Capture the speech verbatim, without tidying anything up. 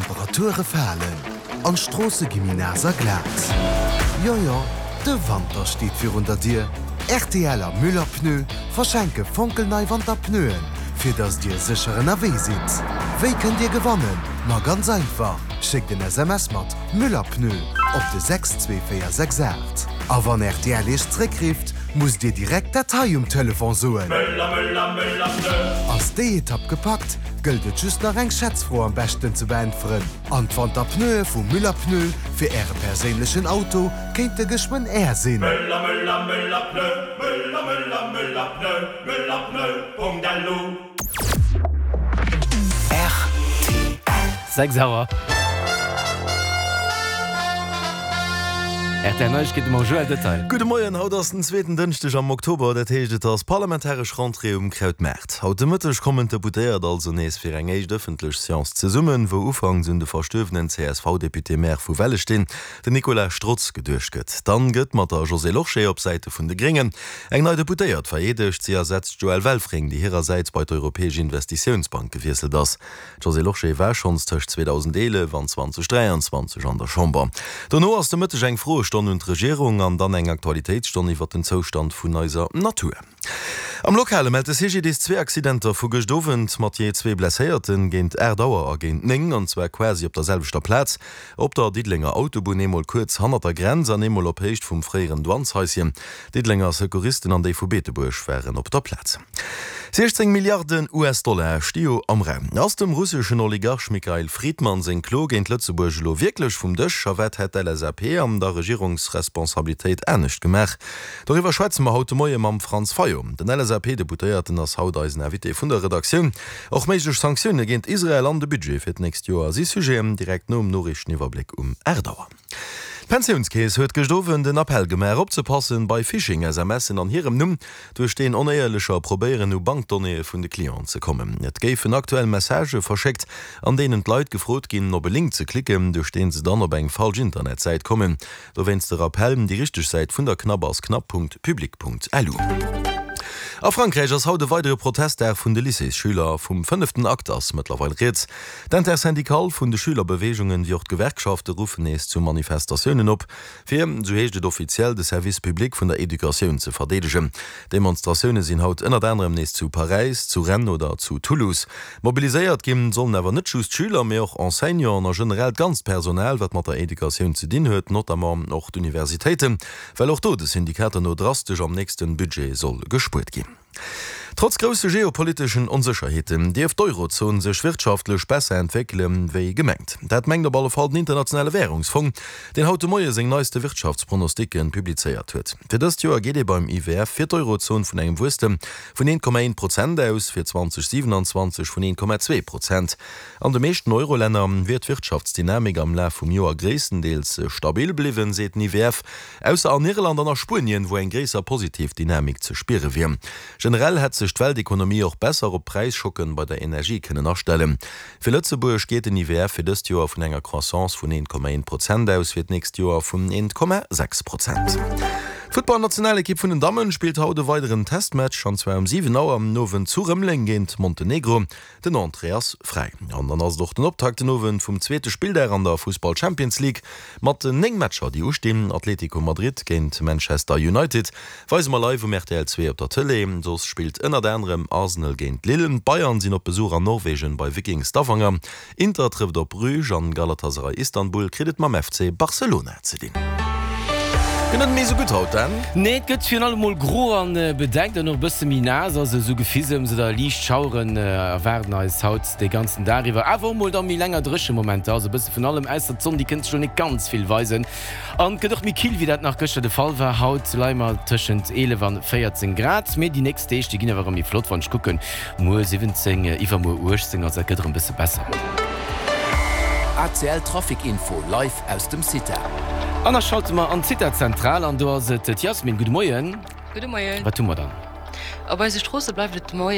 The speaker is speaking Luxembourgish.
D'Temperature falen an d'Stroosse gi méi naass a glat. Jo jo, de Wanter steet virun der Dier. Rtl a Müller Pneu verschenke fonkelnei Wanterpneuen, fir dass dir sécher ënnerwee sidd. Wéi kënnt dir gewannen? Ma ganz einfach, Schéckt en S M S mat Müller Pneu op de sechs zwee véier sechs aacht. A wann rtl iech zréckrifft, musst dir direkt dat hei um Telefon soen. Müller, Müller, Müller Pneu! Ass déi Etapp gepackt, gëllt et just nach eng Schätzfro am beschten ze beäntweren. An d'Wanterpneue vu Müller Pneu fir äre perséinlechen Auto kéinte geschwënn är sinn. Müller, Müller, Müller Pneu, Müller, Müller, Müller Pneu, Müllerpneu Punkt lu. Sechs Auer. R T L Neiegkeete mam Joël Detail. Gudde Moien, haut ass den zweeten Dënschdeg am Oktober, dat heescht et ass parlamentaresch Rentrée um Krautmaart. Haut de Mëtteg kommen d'Deputéiert also nees fir eng éischt ëffentlech Seance zesummen, wou ufanks un de verstuerwenen C S V-Député-Maire vu Wellesteen, den Nicolas Strotz, geduecht gëtt. Dann gëtt mat der Josée Lorsché op Säite vun de Gréngen eng nei Deputéiert vereedegt. Si ersetzt d'Joëlle Welfring, déi hirersäits bei d'Europäesch Investitiounsbank gewiesselt ass. D'Josée Lorsché war schonns tëscht zweedausendeelef an zweedausenddräianzwanzeg an der Chamber. Dono ass de Mëtteg eng Froestonn un d'Regierung an dann eng Aktualitéitsstonn iwwer den Zoustand vun eiser Natur. Am Lokale mellt de C G D I S zwee Accidenter vu gëscht Owend mat jee zwee Blesséierten, géint aacht Auer a géint néng, an zwar quasi op der selwechter Plaz, op der Diddelenger Autobunn, eemol kuerz hannert der Grenz an eemol op Héicht vum fréieren Douaneshaischen. Diddelenger Secouristen an déi vu Beetebuerg waren op der Plaz. siechzéng Milliarden U S-Dollar sti jo am Raum. Ass dem russeschen Oligarch Mikhail Fridman seng Klo géint Lëtzebuerg elo wierklech vum Dësch? A wat hätt d'L S A P an der Regierungsresponsabilitéit anescht gemaach? Doriwwer schwätze mer haut de Moie mam Franz Fayot. Den L S A P-Deputéierten ass haut eisen Invité vun der Redaktioun. Och méiglech Sanktioune géint Israel an de Budget fir d'nächst Joer si Sujeten, direkt nom Noriichteniwwerbléck um aacht Auer. D'Pensiounskeess huet gëscht Owend en Appell gemaach, opzepassen bei Phishing-S M Sen an hirem Numm, duerch deen Onéierlecher probéieren u Bankdonnéeë vun de Clienten ze kommen. Et géifen aktuell Messagë verschéckt, an deenen d'Leit gefrot ginn, op e Link ze klicken, duerch dee se dann op eng falsch Internetsäit kommen. Dowéinst de Rappell, déi richteg Säit vun der CNAP ass cnap Punkt public Punkt lu. A Frankräich ass haut e weidere Protestdag vun de Lycéesschüler. Vum fënneften Akt ass mëttlerweil rieds. D'Intersyndicale vun de Schülerbeweegungen, wéi och d'Gewerkschafte ruffen nees zu Manifestatiounen op, fir, sou heescht et offiziell, de Service public vun der Educatioun ze verdeedegen. Demonstratioune sinn haut ënnert anerem nees zu Paräis, zu Rennes oder zu Toulouse. Mobiliséiert ginn sollen awer net just d'Schüler, mee och Enseignanten a generell d'ganzt Personal, wat mat der Educatioun ze dinn huet, notamment och d'Universitéiten, well och do de Syndikater no drastesch am nächste Budget soll gespuert ginn. Trotz grousse geopoliteschen Onsécherheeten dierft d'Eurozon sech wirtschaftlech besser entwéckele wéi gemengt. Dat mengt op alle Fall den Internationale Wärungsfong, deen haut de Moie seng neiste Wirtschaftspronosticken publizéiert huet. Fir dëst Joer geet ee beim I W F fir d'Eurozon vun engem Wuesstem vun eent Komma eent Prozent aus, fir zweedausendsiewenanzwanzeg vun eent Komma zwee Prozent. An de meeschten Eurolänner wier d'Wirtschaftsdynamik am Laf vum Joer gréisstendeels stabil bliwwen, seet den I W F, ausser an Irland an a Spuenien, wou eng gréisser positiv Dynamik ze spiere wier. Generell hätt sech d'Weltekonomie och besser op Präisschocken bei der Energie kënnen astellen. Fir Lëtzebuerg geet den I W F fir dëst Joer vun enger Croissance vun eent Komma eent Prozent aus, fir d'nächst Joer vun eent Komma sechs Prozent. D'Futtballnationalekipp vun den Dammen spillt haut e weideren Testmatch, an zwar um siwen Auer am Owend zu Rëmeleng géint Montenegro. Den Entrée ass fräi. An dann ass et och den Optakt den Owend vum zweete Spilldag an der Fussball Champions League mat néng Matcher déi ustinn. Atlético Madrid géint Manchester United weise mer live um R T L zwee op der Tëlee. Soss spillt ënnert anerem Arsenal géint Lille. D'Bayern sinn op Besuch an Norwegen bei Viking Stavanger. Inter trëfft op Bruges an Galatasaray Istanbul kritt et mam F C Barcelona ze dinn. Gëtt net méi sou gutt haut, Dan? Nee, et gëtt virun allem mol gro an bedeckt an och e bësse méi naass, also esou Gefisems oder liicht Schaueren erwaarden eis haut de ganzen Dag iwwer. Awer och mol da méi länger dréche Momenter, also e bësse vun allem, ausser d'Sonn, déi kënnt sech elo net ganz vill weisen. An et gëtt och méi kill, wéi dat nach gëschter de Fall war. Haut leie mer tëschent eelef an véierzéng Grad, mee déi nächst Deeg, déi ginn awer erëm méi flott, wann ech kucken, muer siwwenzéng, iwwermuer uechtzéng, also dat gëtt erëm e bësse besser. A C L Trafic Info live aus dem CITA. An da schalte mer an d'CITA-Zentral an do ass et d'Jasmin. Gudde Moien. Gudde Moien. Wat hu mer dann? Op eise Stroosse bleift et de Moien